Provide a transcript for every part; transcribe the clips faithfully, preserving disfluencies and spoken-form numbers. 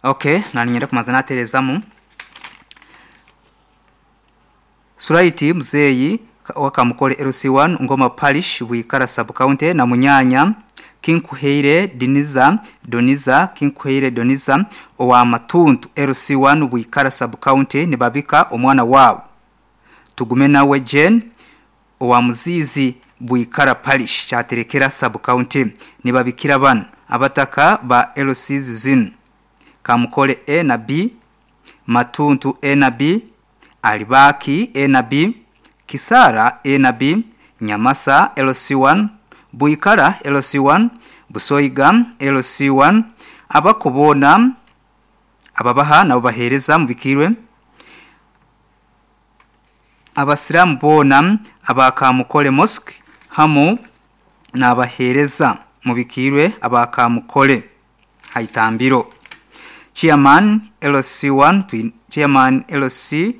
Okay, naninyenda kumanza naterezamu. Suraiti Muzeyi wakamukole L C one, Ngoma Parish, Bwikara Sub County, na munyanya Kinkuheire Diniza, Doniza Kinkuheire Doniza owa Matuntu L C one, Bwikara Sub County, nibabika omwana wabo Tugume nawe Jane owa Muzizi, Bwikara Parish, Kyaterekera Sub County. Nibabikira bano abataka ba L Cs zinu: Kamukole A na B, Matuntu A na B, Alibaki A na B, Kisara A na B, Nyamasa L C one, Bwikara L C one, Busoiga L C one. Abakubona ababaha nabo bahereza mubikirwe. Abasiramu boona abakamukole Mosque hamu n'abahereza mubikirwe abakamukole haitambiro. Chairman L C one, twin, chairman L C,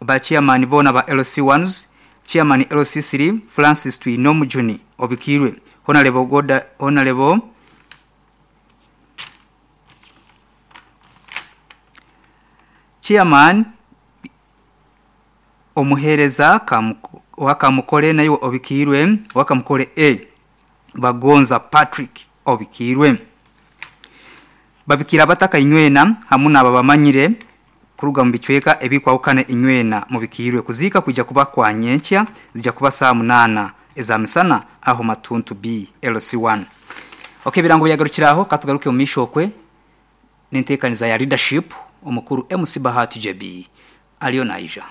ba chairman bona ba L C ones, chairman L C three Francis Twinomujuni obikirwe. Honorable Goda, Honorable chairman omuhereza wakamukole nayo obikirwe, wakamukole A Bagonza Patrick obikirwe. Babikira abataka inywena hamu naba bamanyire kuruga mu bicweka ebikwawukana inywena mubikirwe. Kuziika kwijja kuba kwa nyenkya, zijja kuba saa munana eza misana aho Matuntu B L C one. Okay, birango byagarukiraho. Katugaruke mu mishokwe n'enteekaniza ya leadership, omukuru M C Bahati J B aliyo naija.